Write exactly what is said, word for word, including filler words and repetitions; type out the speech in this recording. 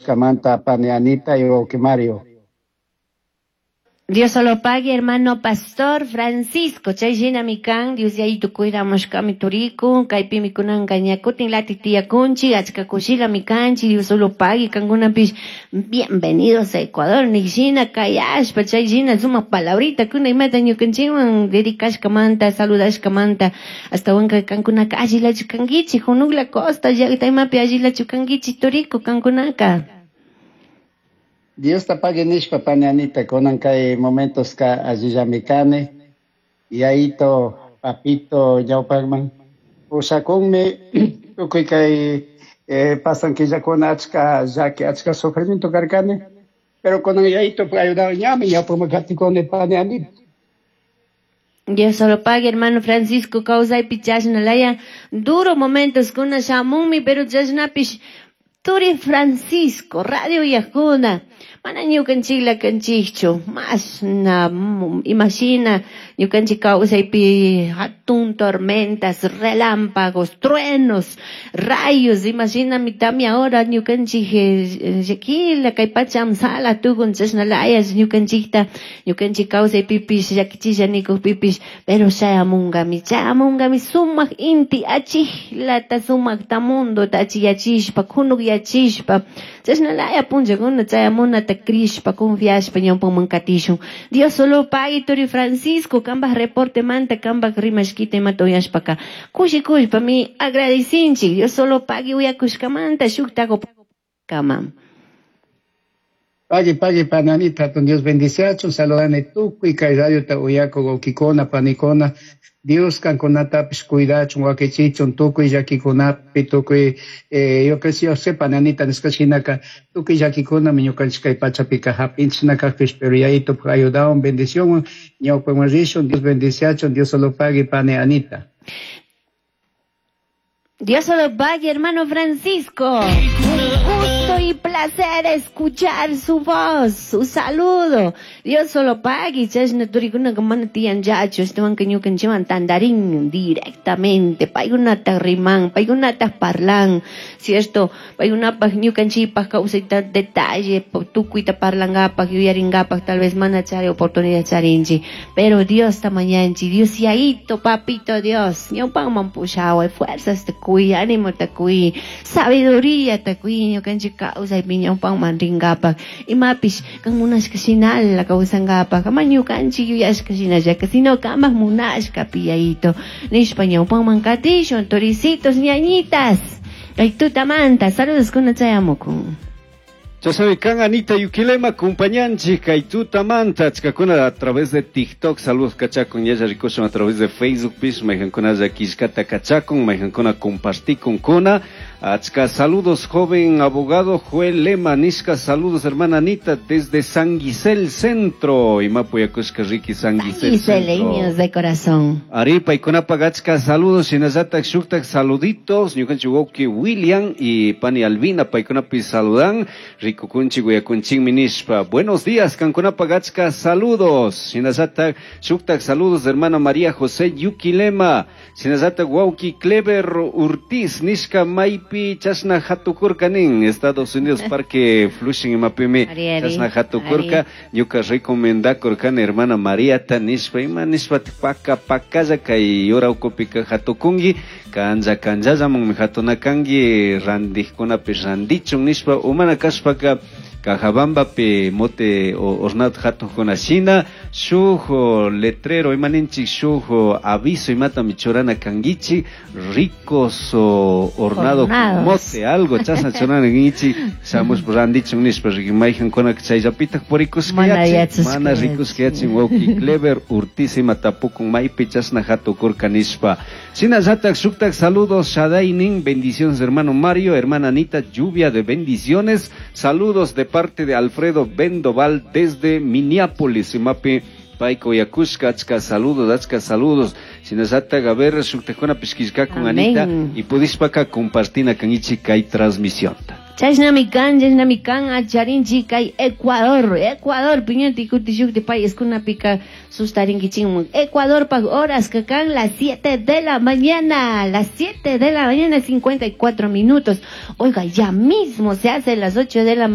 Kayashkamanta pani Anita y wawqi Mario. Dios solo pague, hermano pastor Francisco. Chay shinami kan, Dios Yayito cuidamushkami turiku, kaypimi kunanka ña kutin latik tiyakunchik, achka kushilami kanchik, Dios solo pague, kankunapish bienvenidos a Ecuador, nishina kayashpa, chay shina sumak palabrita kuna imata ñukanchikwan dedicashkamanta, saludashkamanta, ashtawanka kankunaka allilachu kankichik, Junugla Costa llaqta imapi allilachu kankichik turiku kankunaka. Dios ta pagui nishpa pani Anita, kunan kay momentoska allillami kani, Yayito, papito ñawpakman pushakunmi tukuy kay eh, pasan killakuna achka llaki, achka sufrimiento karkani, pero kunan Yayito ayudado ñami ñawpakman katikuni pani Anita. Dios solo pague, hermano Francisco, kawsaypi chashna laya duro momentos kuna shamunmi, pero chashnapish turi Francisco, radio uyakuna, mana ñukanchikla kanchikchu, mashna imashina ñukanchik kawsaypi hatun tormentas, relámpagos, truenos, rayos, imashinami tamia ahora ñukanchik llakila kay pacha amsala tukun chashna layas ñukanchikta, ñukanchik kawsaypipish llakichisha nikukpipish, pero chayamunkami, chayamunkami sumak inti achiklata sumakta mundota achiyachishpa, kunukyachishpa, chashna laya punllakuna chayamunata crishpa, confiashpa ñawpaman katishun. Dios solo pague, turi Francisco, kambaj reporte manta, kambaj rimashkita imata uyashpaka, kushikushpa mi agradecinchik, Dios solo pague uyakushkamanta shukta kama. Pagui, pagui, pani Anita, Dios bendiciachun, saludani tukuy kay radiota uyaku wawkikuna, panikuna, Dios kankunatapish cuidachun, wakichichun, tukuy llakikunapi, tukuy, eh, yo que yo sé, pani Anita, nishka shinaka, tukuy llakikunami ñukanchik kay pachapika hapinchik kakpish, pero Yayito ayudawan, bendición, ñawpaman rishun, Dios bendiciachun, Dios solo pague, pani Anita. Dios solo pague, hermano Francisco. Un gusto y placer escuchar su voz, su saludo. Dios solo pague, chashna turikuna mana tiyan llachu, ashtawanka ñukanchikwan tandarin directamente, paykunata riman, paykunata parlan, cierto, paykunapaj ñukanchikpaj kawsayta detalle, tukuyta parlangapak, yuyaringapak, tal vez mana chari oportunidad charinchik, pero Dios ta mañanchik, Dios Yayito, papito Dios, ñawpanman pushaway, fuerzas te cuy, ánimo ta cuy, sabiduría ta cuy, ñukanchik kawsaypi ñawpanman ringapak, imapish kan munashka shinala kawsangapak, ama ñukanchik yuyashka shinallaka, sino kamak munashkapi Yayito, nishpa ñawpanman katishun, toricitos, ñañitas, kay tutamanta, saludos kuna chayamukun. Chashawi kan Anita Yuquilema, acompañanchik kay tutamanta, achkakuna a través de TikTok, saludos kachakun, yaya rikushun a través de Facebook, pish, mayqankuna killkata kachakun, mayqankuna compartikun kuna, achka saludos joven abogado Joel Lema, nishka saludos hermana Anita desde San Gisel Centro, imapu yakushka riki San Gisel Centro. De corazón. Ari, paykunapaq achka saludos, shinallatak shuktak saluditos, ñukanchik wawqi William y pani Albina, paykunapi saludan, rikukunchik uyakunchikmi nishpa. Buenos días, kankunapaq achka saludos, shinallatak shuktak saludos hermana María José Yuquilema, shinallatak wawqi Clever Urtiz, nishka maypi chashna hatukurka nin, Estados Unidos Parque Flushing imapimi chashna hatukurka, ñuka recomendakurkani hermana Mariata nishpa, ima nishpa paka pakalla kay yura ukupika hatukunki, kanja kanjallamanmi hatunakanki, randijkunapi randichun nishpa, umana kashpaka Cajabambapi mote hornado hatukuna shina, shuk letrero imaninchik, shuk aviso imatami churana kankichik, ricos hornado mote algo chasna churana kankichik, shamush randichun nishpa, mayqankuna chayllapitak purikushka mana rikushka yachin wawqi Clever Urtiz ima tapukun maypi chasna hatukurka nishpa. Shinallatak shuktak saludos Shadaynin, bendiciones hermano Mario, hermana Anita, lluvia de bendiciones, saludos de parte de Alfredo Bendoval desde Minneapolis, imapi payka uyakushka, achka saludos, achka saludos. Shinallatak a ver shuktakuna pishkishkakun Anita y pudishpaka compartina kankichik kay transmisionta. Chashnami kan, chashnami kan, acharinchik kay Ecuador, Ecuador, piñanti kuti shukti paiskunapika sustarinkichikman. Ecuador pa horas que kan las siete de la mañana, las siete de la mañana, cincuenta y cuatro minutos. Oiga, ya mismo se hace las ocho de la mañana.